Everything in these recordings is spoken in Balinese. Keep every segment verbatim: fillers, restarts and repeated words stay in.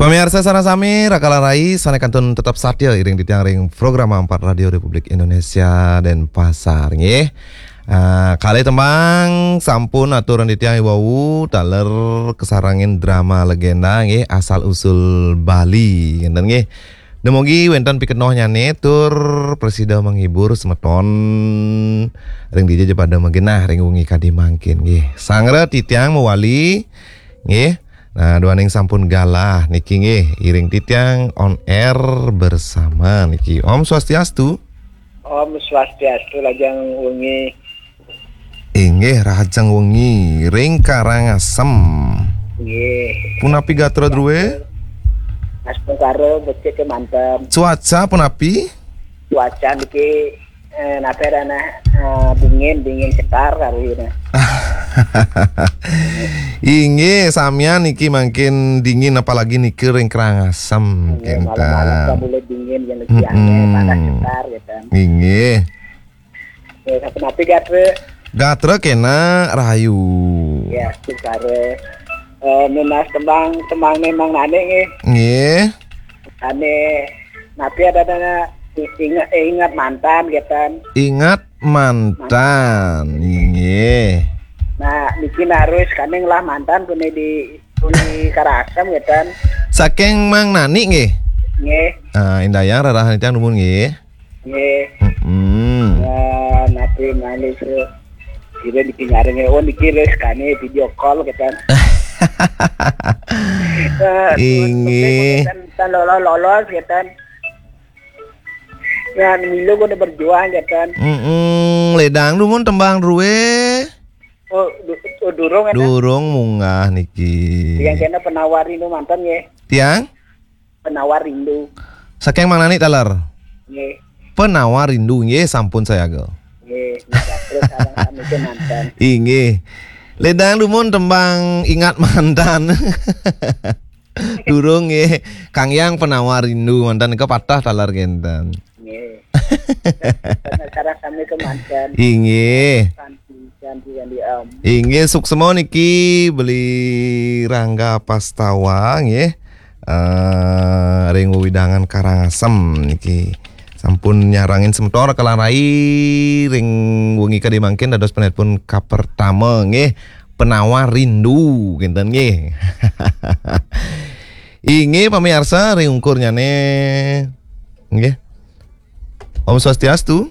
Pamiarsa sareng sami, raka lan rai sané kantun tetep satia iring titiang ring Programa Empat Radio Republik Indonesia Denpasar nggih. Ah, kalih tembang sampun aturan titiang iwau taler kasarengin drama legenda nggih, asal usul Bali ngénten nggih. Dumugi wénten pikenohnyané tur prasida menghibur semeton ring dija ja pada magenah ring wengi kadi mangkin nggih. Sanggra titiang mawali nggih. Nah, duaning sampun galah niki nggih, iring titiang on air bersama niki. Om Swastiastu. Om Swastiastu, lajeng wengi. Inggih, rahajeng wengi ring Karangasem. Nggih. Punapi gatra drué? Astungkara becik kémanten. Cuaca punapi? Cuaca niki, eh, napi ranah, eh, dingin, dingin sekar kari ini. Inggih, samian niki mangkin dingin, apalagi niki ring Karangasem. Nggih, malam-malam kénten. Kan mulai dingin, yang lebih aneh, panas sekar gitu. Inggih. Ya, sapunapi gatra? Gatra kénak rahayu. Ya, sukara. Eh, nunas tembang, tembang memang nane nggih. Nggih. Ane napi ada dana ingat, ingat mantan gitu. Ingat mantan. Nggih. Nah, niki narus kaning lah mantan punya di, di Karangasem gitu. Saking Mang Nani nggih. Nggih. Ah, indayang rarahan titiang dumun nggih. Nggih. Mm-mm. Ya, napi malih se-, kira niki nyarengé, oh, niki res kane video call gitu. Eh, inggih. Tan, tan lolos-lolos gitu. Ya, milu kone berjuang gitu. Mm-mm. Ledang dumun tembang drué. Oh, du-, oh, durung gitu. Durung munggah niki. Yang kena penawar rindu mantan nggih. Tiang? Penawar rindu. Saking Mang Nani taler? Nggih. Penawar rindu, nggih, sampun sayaga. Nggih, nika terus sareng sami kémanten. Inggih. Ledang dumun tembang ingat mantan. Durung nggih. Kang Yang penawar rindu mantan nika patah taler kénten. Nggih. Sareng sami kémanten. Inggih. Santi, santi, santi, Om. Inggih, suksma niki Beli Rangga Pastawa nggih. Eh, ring wewidangan Karangasem niki. Sampun nyarengin semeton raka lan rai ring wengi kadi mangkin dados penelpon kapertama nggih. Penawar rindu kénten nggih. Inggih pamiarsa ring ungkurnyané nggih. Om Swastiastu.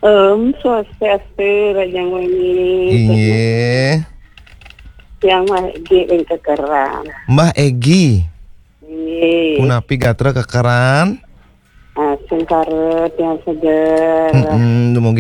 Om Swastiastu, rahajeng wengi. Inggih. Tiang Mbah Egi ring Kekeran. Mbah Egi. Inggih. Punapi gatra Kekeran? Ah, sengkara tiang seger. Mm-mm, dumugi